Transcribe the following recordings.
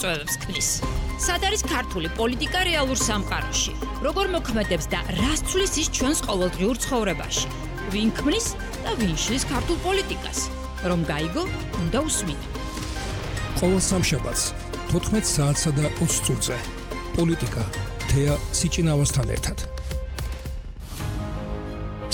წვევებს ქმნის. სად არის ქართული პოლიტიკა რეალურ სამყაროში? როგორ მოქმედებს და რას ცვლის ის ჩვენს ყოველდღიურ ცხოვრებაში? ვინ ქმნის და ვინ შლის ქართულ პოლიტიკას? რომ გაიგო, უნდა უსმინო. ყოველ სამშაბათს 14 საათსა და 20 წუთზე პოლიტიკა თეა სიჭინავასთან ერთად.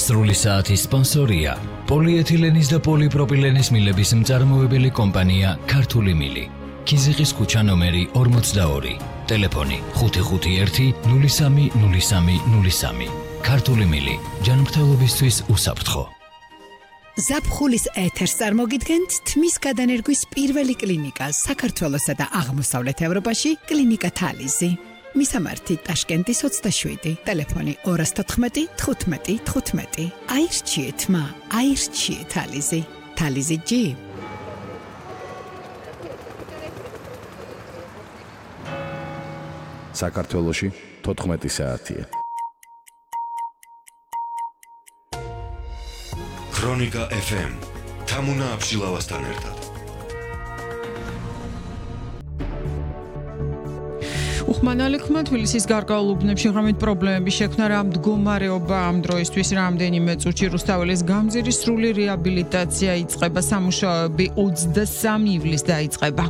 სრული საათის სპონსორია პოლიეთილენის და პოლიპროპილენის მილების მწარმოებელი კომპანია ქართული მილი. ქიზიყის ქუჩა ნომერი 42, ტელეფონი 551-030303. ქართული მილი, ჯანმრთელობისთვის უსაფრთხო. ზაფხულის ეთერს წარმოგიდგენთ თმის გადანერგვის პირველი კლინიკა საქართველოსა და აღმოსავლეთ ევროპაში, კლინიკა თალიზი. მისამართი ტაშკენტის 27, ტელეფონი 214 15 15. აირჩიეთ მა, აირჩიეთ თალიზი. თალიზი G. საქართველოში 14 საათია. ქრონიკა FM თამუნა აბშილავასთან ერთად. უხმანალექმა თბილისის გარკვეულ უბნებში ღრმით პრობლემების შექმნა რა მდგომარეობა ამ დროისთვის რამდენიმე წუთში რუსთაველის გამზირის სრული რეაბილიტაცია იწყება, სამუშაოები 23 ივლისს დაიწყება.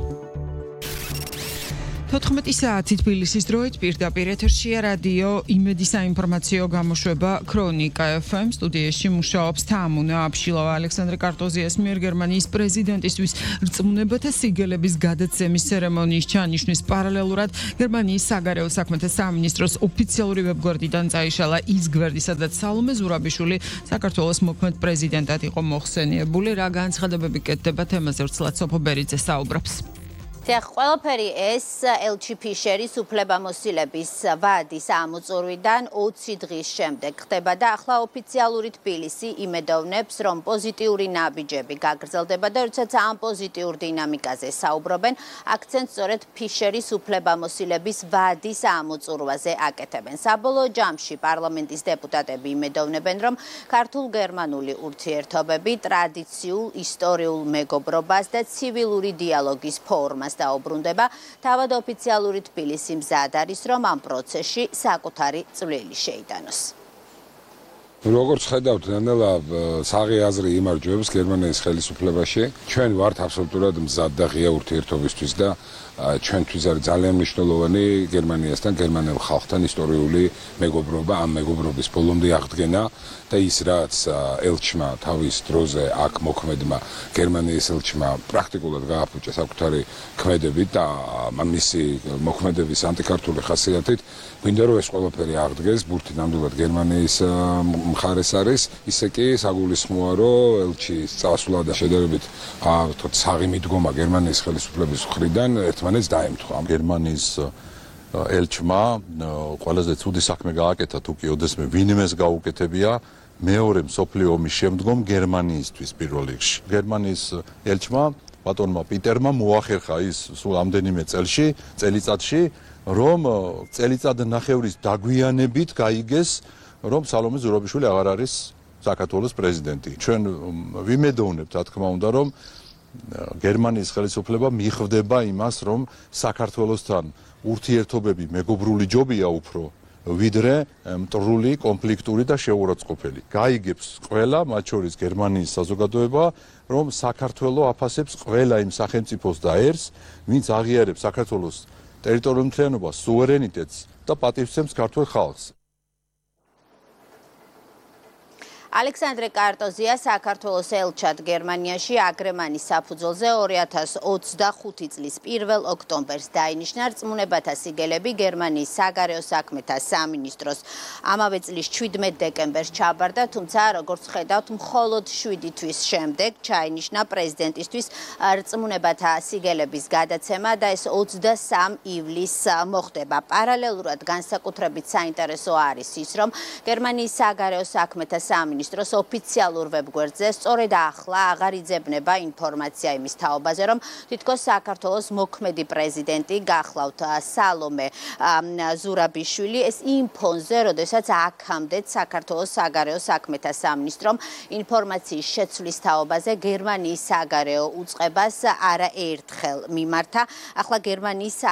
14 საათი თბილისის დროით პირდაპირ ეთერშია რადიო იმედი საინფორმაციო გამოშვება ქრონიკა FM. სტუდიაში მუშაობს თამუნა აბშილავა. ალექსანდრე კარტოზიას მიერ გერმანიის პრეზიდენტისთვის რწმუნებათა სიგელების გადაცემის ცერემონიის ჩანიშვნის პარალელურად გერმანიის საგარეო საქმეთა სამინისტროს ოფიციალური ვებგვერდიდან წაიშალა ის გვერდი, სადაც სალომე ზურაბიშვილი საქართველოს მოქმედ პრეზიდენტად იყო მოხსენიებული. რა განცხადებები კეთდება თემაზე ვრცლად სოფო ბერიძე საუბრობს. ყველაფერი ეს ელჩი ფიშერის უფლებამოსილების ვადის ამოწურვიდან 20 დღის შემდეგ ხდება და ახლა ოფიციალური თბილისი იმედოვნებს, რომ პოზიტიური ნაბიჯები გაგრძელდება და როდესაც ამ პოზიტიურ დინამიკაზე საუბრობენ, აქცენტს სწორედ ფიშერის უფლებამოსილების ვადის ამოწურვაზე აკეთებენ. საბოლოო ჯამში პარლამენტის დეპუტატები იმედოვნებენ, რომ ქართულ-გერმანული ურთიერთობები ტრადიციულ ისტორიულ მეგობრობას და ცივილური დიალოგის ფორმას დაუბრუნდება. თავად ოფიციალური თბილისი მზად არის, რომ ამ პროცესში საკუთარი წვლილი შეიტანოს. როგორც ხედავთ, ნელ-ნელა საღი აზრი იმარჯვებს გერმანიის ხელისუფლებაში. ჩვენ ვართ აბსოლუტურად მზად და ღია ურთიერთობისთვის და ჩვენთვის არის ძალიან მნიშვნელოვანი გერმანიასთან, გერმანელ ხალხთან ისტორიული მეგობრობა, ამ მეგობრობის ბოლომდე აღდგენა და ის რაც ელჩმა თავის დროზე აქ მოქმედმა გერმანიის ელჩმა პრაქტიკულად გააფუჭა საკუთარი ქმედებით და მისი მოქმედების ანტიქართული ხასიათით, გვინდა რომ ეს ყველაფერი აღდგეს, ბურთი ნამდვილად გერმანიის მხარეს არის, ისე კი საგულისხმოა, რომ ელჩის წასვლა და შედარებით საღი მიდგომა გერმანიის ხელისუფლების მხრიდან ერთმანეთს დაემთხვა. გერმანიის ელჩმა ყველაზე ცუდი საქმე გააკეთა, თუ კი ოდესმე ვინმეს გაუკეთებია მეორე მსოფლიო ომის შემდგომ გერმანიისთვის პირველ რიგში. გერმანიის ელჩმა ბატონმა პიტერმა მოახერხა ის სულ ამდენიმე წელიწადში, რომ წელიწადნახევრის დაგვიანებით გაიგეს, რომ სალომე ზურაბიშვილი აღარ არის საქართველოს პრეზიდენტი. ჩვენ ვიმედოვნებთ, რა თქმა უნდა, რომ გერმანიის ხელისუფლება მიხვდება იმას, რომ საქართველოსთან ურთიერთობები მეგობრული ჯობია უფრო, ვიდრე მტრული, კონფლიქტური და შეურაცხყოფელი. გაიგებს ყველა, მათ შორის გერმანიის საზოგადოება, რომ საქართველო აფასებს ყველა იმ სახელმწიფოს და ერს, ვინც აღიარებს საქართველოს ტერიტორიულ მთლიანობას, სუვერენიტეტს და პატივცემს ქართულ ხალხს. ალექსანდრე კარტოზია საქართველოს ელჩად გერმანიაში აგრემანის საფუძველზე 2025 წლის 1 ოქტომბერს დაინიშნა. რწმუნებათა სიგელები გერმანიის საგარეო საქმეთა სამინისტროს ამავე წლის 17 დეკემბერს ჩაბარდა, თუმცა როგორც ხედავთ, მხოლოდ 7 თვის შემდეგ ჩაინიშნა პრეზიდენტისთვის რწმუნებათა სიგელების გადაცემა და ეს 23 ივლისს მოხდება. პარალელურად განსაკუთრებით საინტერესო არის ის, რომ გერმანიის საგარეო საქმეთა სამინისტრო სამინისტროს ოფიციალურ ვებგვერდზე სწორედ ახლა აღარ იძებნება ინფორმაცია იმის თაობაზე, რომ თითქოს საქართველოს მოქმედი პრეზიდენტი გახლავთ სალომე ზურაბიშვილი ეს იმ ფონზე, როდესაც აქამდეც საქართველოს საგარეო საქმეთა სამინისტრომ ინფორმაციის შეცვლის თაობაზე გერმანიის საგარეო უწყებას არაერთხელ მიმართა. ახლა გერმანიის